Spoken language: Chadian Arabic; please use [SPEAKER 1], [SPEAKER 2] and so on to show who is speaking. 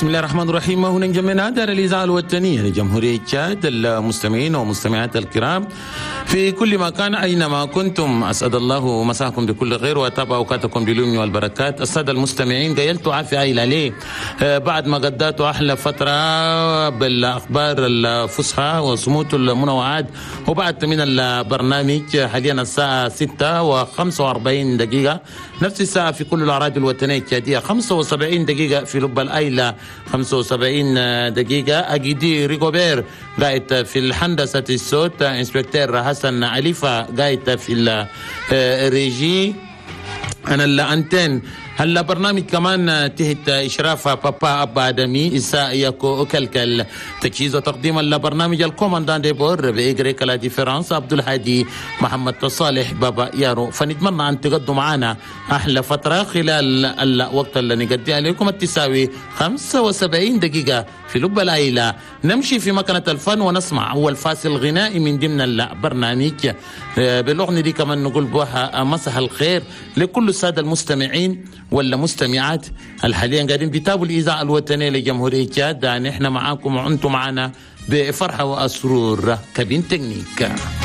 [SPEAKER 1] بسم الله الرحمن الرحيم. هنا جمعنا دار الإذاعة الوطنية لجمهورية تشاد، المستمعين ومستمعات الكرام في كل مكان أينما كنتم، أسعد الله مساكم بكل خير وأطاب أوقاتكم باليمن والبركات. السادة المستمعين، قيلتوا عافية إلى ليه بعد ما قضيتوا أحلى فترة بالأخبار الفصحى وصموت المنوعات، وبعد من البرنامج حاليا الساعة 6:45، نفس الساعة في كل الأراضي الوطنية التشادية، 75 دقيقة في لب الأيلة، 75 دقيقة. أجدي ريغوبير قاعد في الهندسة الصوت، inspecteur حسن عليفة قاعد في ال régie، أنا ال antenne. هلا برنامج كمان تحت إشراف بابا أبا آدمي إساء يكو أكلكل. تجهيز وتقديم البرنامج ال commandant de bord بإجريك la différence عبد الهادي محمد صالح بابا يارو. فنتمنى أن تقضوا معنا أحلى فترة خلال الوقت اللي نقضي عليكم التساوي 75 دقيقة في لب العيلة. نمشي في مكنة الفن ونسمع أول فاصل غنائي من ضمن البرنامج بالأغنية دي كمان نقول بوها مسح الخير لكل السادة المستمعين ولا مستمعات الحاليا قاعدين بيتابعوا الإذاعة الوطنية لجمهورية تشاد. نحن معاكم وأنتم معنا بفرحة وأسرور. cabine technique.